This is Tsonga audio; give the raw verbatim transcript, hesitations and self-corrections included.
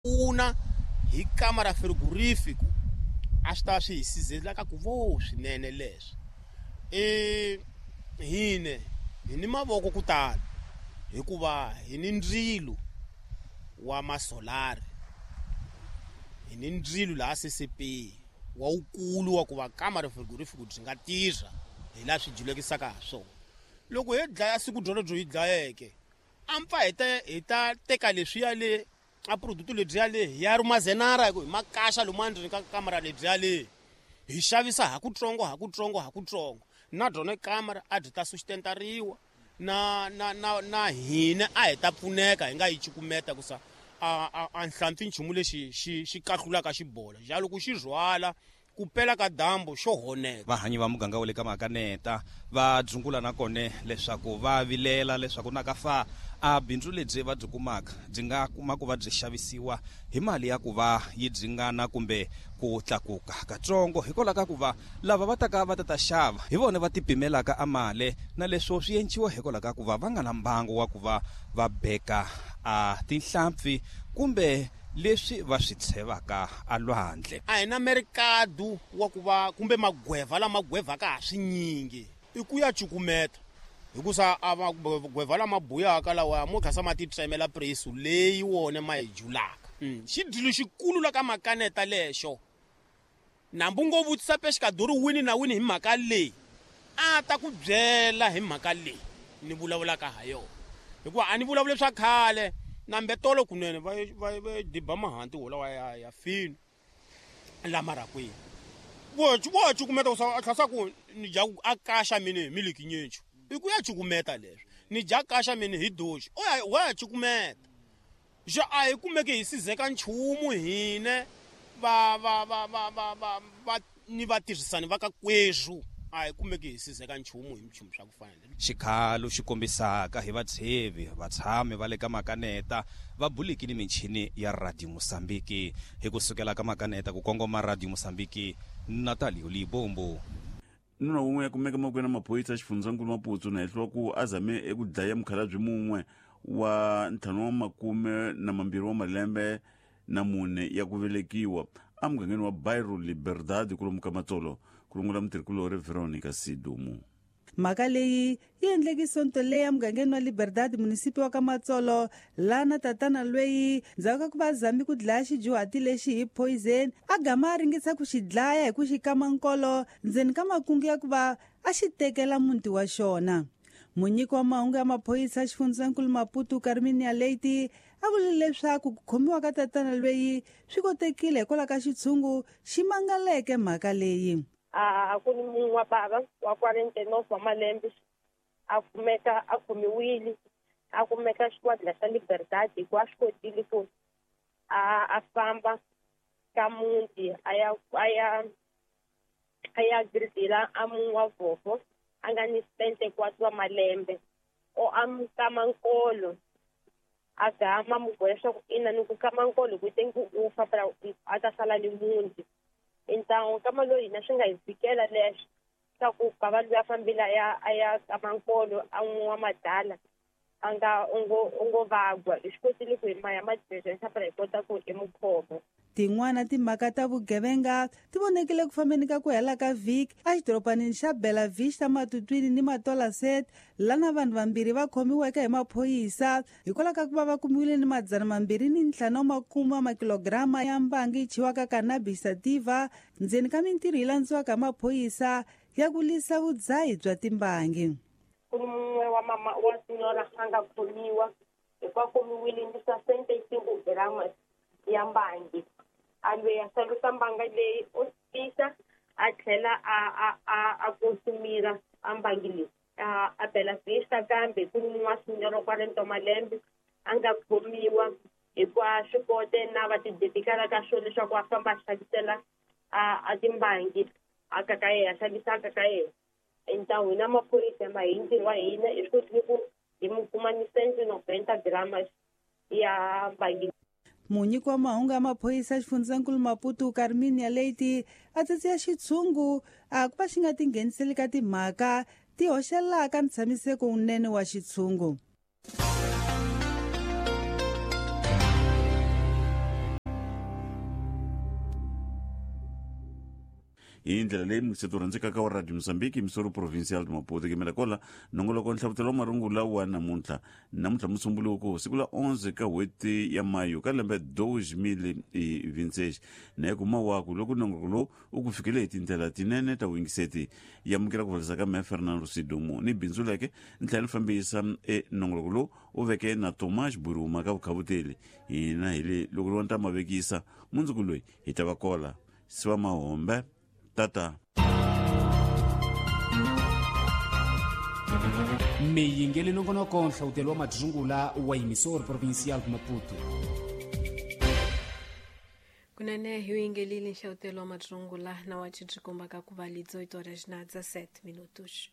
Pfuna hi kamara frigorifico a swi ta swi hi sizela ka ku vo swinene leswo e hine hi ni mavoko ku tala hikuva hi ni ndzilo wa masolari, hi ni ndzilo laha C C P wa wukulu wa ku va kamara frigorifico byi nga tirha hi laha swi julekisaka ha swona. Loko hi dlaya siku byolo byo hi dlayeke a mpfa hi ta hi ta teka leswiya le a product lebyiya le hi ya rumazenara hi ku hi makaxa lomu ndzeni ka kamara lebyiya le hi xavisa ha kutsongo ha kutsongo ha kutsongo na byona kamara a byi ta sustentariwa na na na na hina a hi ta pfuneka hi nga yi cukumeta ku sa a a a nhlampfi nchumu lexi xi xi kahlulaka xibola xa loko xi rhwala ku pela ka dyambu xo honeka. Vahanyi va muganga wa le ka Makaneta va dzungula na kone leswaku va vilela leswaku na ka fa a bindzu lebyi va byi kumaka byi nga kuma ku va byi xavisiwa hi mali ya ku va yi dzingana kumbe ku tlakuka katsongo, hikwalaho ka ku va lava va taka va ta ta xava hi vona va tipimelaka a mali, na leswo swi enciwa hikwalaho ka ku va va nga na mbangu wa ku va va beka a tinhlampfi kumbe leswi va swi tshevaka a lwandle. A hi na merikadu wa ku va kumbe magweva lama gwevaka ha swinyingi i ku ya cukumeta hikusa a magweva lama buyaka lawa mo khasa ma titsemela presu leyi wona ma hi julaka. Xidilo xikulu la ka Makaneta lexo nambu ngo vutisa pexikadori wini na wini hi mhaka leyi a ta ku byela hi mhaka leyi ni vulavulaka ha yona, hikuva a ni vulavuli swa khale nambe tolo kunene va va va diba mahanti wolawa ya ya fini lama rakwini vo vo cukumeta ku a tlhasa ku ni dya a kaxa mini hi miliki nyinchu i ku ya cukumeta leswi ni dya kaxa mini hi doxi o ya wa ya cukumeta xa a hi kumeke hi sizeka nchumu hine va va va va va va va ni vatirhisani va ka kweswu a hi kumeki hi sizeka nchumu hi nchumu swa ku fana. Xikhalo xi kombisaka hi vatshevi vatshami va le ka Makaneta va buliki ni michini ya Radio Mosambiki. Hi ku sukela ka Makaneta ku kongoma Radio Mosambiki, Natalio Libombo. Nuna wun'we ya kumeka mavokweni ya maphorisa xifundzankulu Maputo na hehliwa ku a zame eku dlaya mukhalabye mun'we wa ntlhanu wa makume na mambirhi wa malembe na mune ya ku velekiwa emugangeni wa Bairro Liberdade kulomu ka Matsolo, ku rungula mutirhikulori Veronica Sidumu. Mhaka leyi yi endleke Sonto leyi emugangeni wa Liberdade, munisipi wa ka Matsolo, lana tatana lweyi ndzhaku ka ku va zami ku dlaya xidyuhati lexi hi poison a gama a ringesa ku xi dlaya hi ku xi kama nkolo ndzeni ka makungu ya ku va a xi tekela muti wa xona. Munyiki wa mahungu ya maphorisa xifundzankulu Maputo, Carminia Leite, a vule leswaku ku khomiwa ka tatana lweyi swi kotekile hikwalaho ka xitshungu xi mangaleke mhaka leyi. A ku ni munhu wa bava wa quarante-nove wa malembe a kumeka a khomiwile, a kumeka xikwadi xa Liberdade hi ku a swi kotile ku a a famba ka muti a ya a ya a ya gridila a munhu wa vhofo a nga ni setenta e quatro wa malembe o a mu kama nkolo a gama mu boha leswaku ina ni ku kama nkolo hi ku te ku u fa phela a ta sala ni muti. Então kama loyi hina swi nga hi fikela leswo swa ku bava loyi a fambile a ya a ya kama nkolo a n'wi wa madala a nga u ngo u ngo vagwa hi swi kotile ku hi maya madiresa phela hi kota ku hi mu khoma. Tin'wana timhaka ta vugevenga ti vonekile ku fambeni ka ku hela ka vhiki exidorobanini xa Bela Vista, Matutwini ni Matola Set, lana vanhu vambirhi va khomiweke hi maphorisa hikwalaho ka ku va va kumiwile ni madzana mambirhi ni ntlhanu wa makume wa makilogirama ya mbangi yi chiwaka cannabis sativa ndzeni ka mintirho yi landziwaka hi maphorisa ya ku lwisa vudzahi bya timbangi. Ku ni mun'we wa mama wa senhora a nga khomiwa hi ku a khomiwile ni sessenta e cinco gramas ya mbangi a lweyi a xavisa mbanga leyi o tisa a tlhela a a a a konsumira a mbangi leyi a a Bela Vista. Kambe ku ni mun'we wa senhora quarenta malembe a nga khomiwa hi ku a swi kote na va tidedikala ka swona leswaku a famba a xavisela a a timbangi a ka ka yena a xavisa a ka ka yena. Então hina maphorisa ma hi ntirho wa hina hi swi kotile ku hi mu kuma ni cento e noventa gramas ya mbangi. Munyiki wa mahungu ya maphorisa xifundzankulu Maputo, Carminia Leite, a tsatsiya xitshungu a ku va xi nga tingheniseli ka timhaka ti hoxelaka ntshamiseko wunene wa xitshungu. Hi ndlela leyi mukiseti wu rhandzekaka wa Radio Mozambique emisoro provincial de Maputo kemela kola nongoloko nhlavutelo wa marungula wa namuntlha namuntlha musumbuluko siku la onze ka n'hweti ya mayo ka lembe dois mil e vinte e seis na kuma waku loko nongoloko lowu u ku fikele hi tindlela tinene ta vuyingiseti yamukela ku valisa ka me Fernando Sidumo ni bindzu leke ntlhela ni fambisa e nongoloko lowu u veke na Tomás Buruma ka vukhavuteli hina hi le loko ri ta mavekisa mundzuku loyi hi ta va kola siva mahombe tata. Miyingeli nongonoko nhlawutelo wa madzungula wa emisor provincial de Maputo. Kunene hi yingelile nhlawutelo wa madzungula na wa tshikombaka ku va li dezoito horas na dezassete minutos.